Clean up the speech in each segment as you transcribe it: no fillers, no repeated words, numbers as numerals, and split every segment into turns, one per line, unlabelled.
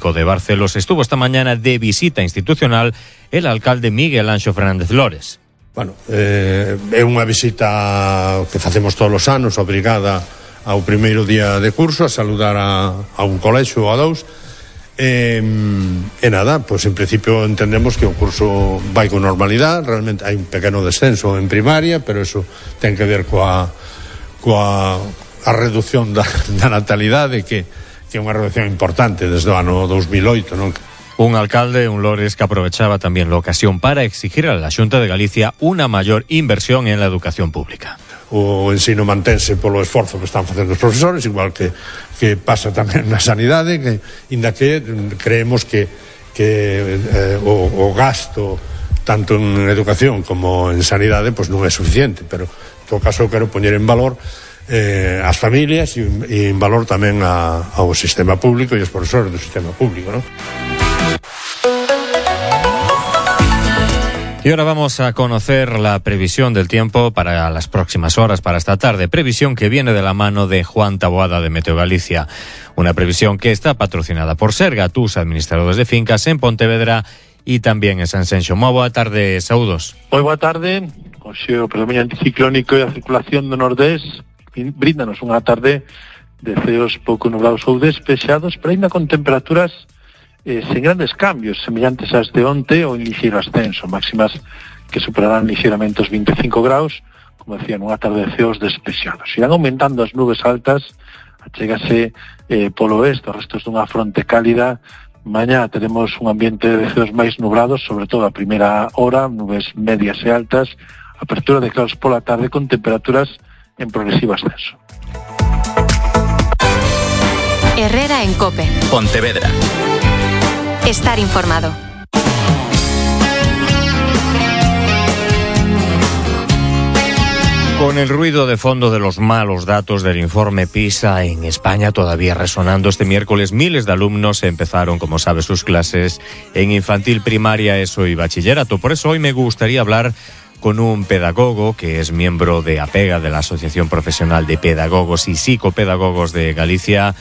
Público de Barcelos estuvo esta mañana de visita institucional el alcalde Miguel Anxo Fernández Lores.
Bueno, é unha visita que facemos todos os anos, obrigada ao primeiro día de curso, a saludar a un colexo ou a dous. E nada, pois en principio entendemos que o curso vai con normalidade. Realmente hai un pequeno descenso en primaria, pero eso ten que ver coa reducción da natalidade, que é unha reducción importante desde o ano 2008, non?
Un alcalde, un Lores, que aprovechaba también la ocasión para exigir a la Xunta de Galicia una mayor inversión en la educación pública.
O ensino mantense polo esforzo que están facendo os profesores, igual que pasa tamén na sanidade, que inda que creemos que o gasto tanto en educación como en sanidade pois non é suficiente, pero en todo caso quero poñer en valor as familias e en valor tamén ao sistema público e os profesores do sistema público, ¿no?
Y ahora vamos a conocer la previsión del tiempo para las próximas horas, para esta tarde. Previsión que viene de la mano de Juan Taboada de Meteo Galicia. Una previsión que está patrocinada por Serga, tus administradores de fincas en Pontevedra y también en Sanxenxo. Moi boa tarde, saúdos.
Moi boa tarde. Hoxe o predomínio anticiclónico e a circulación do nordés bríndanos unha tarde de ceos pouco nublados ou despexados, pero ainda con temperaturas sen grandes cambios, semellantes ás de onte ou en ligeiro ascenso, máximas que superarán ligeiramente os 25 graus, como decía, nunha tarde de ceos despexados. Irán aumentando as nubes altas, achégase polo oeste, os restos dunha fronte cálida. Mañá teremos un ambiente de ceos máis nublados, sobre todo a primeira hora, nubes medias e altas, apertura de claros pola tarde con temperaturas en progresivo ascenso.
Herrera en COPE.
Pontevedra.
Estar informado.
Con el ruido de fondo de los malos datos del informe PISA en España todavía resonando este miércoles, miles de alumnos empezaron, como sabe, sus clases en infantil, primaria, ESO y bachillerato. Por eso hoy me gustaría hablar con un pedagogo que es miembro de APEGA, de la Asociación Profesional de Pedagogos y Psicopedagogos de Galicia,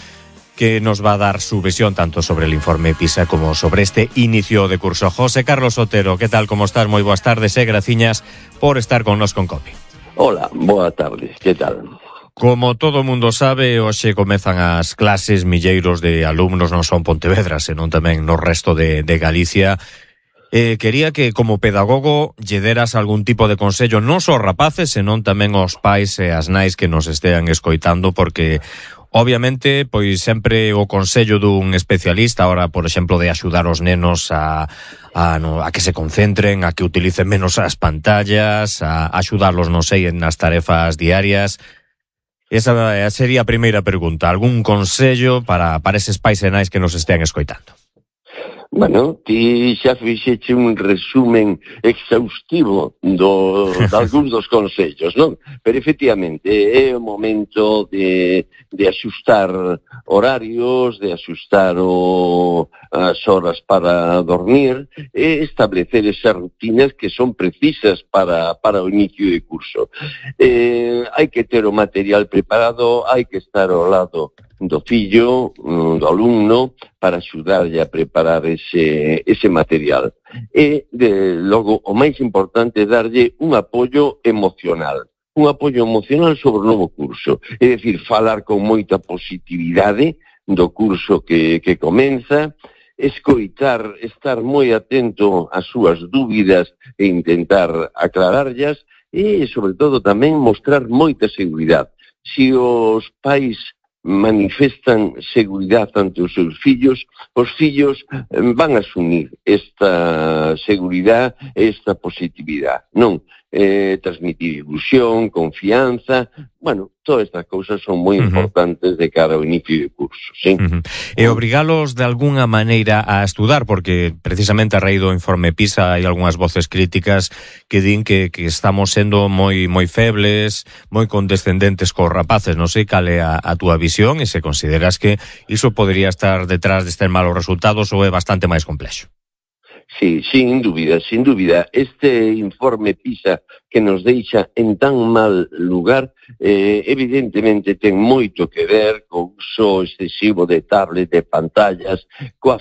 que nos va a dar su visión tanto sobre el informe PISA como sobre este inicio de curso. José Carlos Otero, ¿qué tal? ¿Cómo estás? Moi boas tardes e graciñas por estar con nos con COPE.
Hola, boa tarde, ¿qué tal?
Como todo mundo sabe, hoxe comezan as clases, milleiros de alumnos, non son Pontevedra, senón tamén no resto de Galicia. Quería que, como pedagogo, lle deras algún tipo de consello, non só aos rapaces, senón tamén aos pais e as nais que nos estean escoitando, porque obviamente, pois sempre o consello dun especialista, ahora, por exemplo, de axudar os nenos a que se concentren, a que utilicen menos as pantallas, a axudarlos, non sei, nas tarefas diarias. Esa sería a primeira pregunta. Algún consello para eses pais e nais que nos estean escoitando?
Bueno, ti xa fixeche un resumen exhaustivo de algúns dos consellos, non? Pero efectivamente é o momento de axustar horarios, de axustar as horas para dormir e establecer esas rutinas que son precisas para o inicio de curso. Hai que ter o material preparado, hai que estar ao lado do fillo, do alumno, para axudarlle a preparar ese material. E, logo, o máis importante é darlle un apoio emocional sobre o novo curso. É dicir, falar con moita positividade do curso que comeza, escoitar, estar moi atento ás súas dúbidas e intentar aclararllas e, sobre todo, tamén mostrar moita seguridade. Se os pais manifestan seguridade ante os seus fillos, os fillos van a asumir esta seguridade, esta positividade, non? Transmitir ilusión, confianza, bueno, todas estas cousas son moi importantes de cara ao inicio de curso, sí?
E obrigalos de alguna maneira a estudar, porque precisamente a raíz do informe PISA hai algunhas voces críticas que din que estamos sendo moi febles, moi condescendentes cos rapaces. Non sei cal é a túa visión e se consideras que iso podría estar detrás destes malos resultados ou é bastante máis complexo.
Sí, sin dúbida. Este informe PISA que nos deixa en tan mal lugar, evidentemente ten moito que ver co uso excesivo de tablet, de pantallas, coa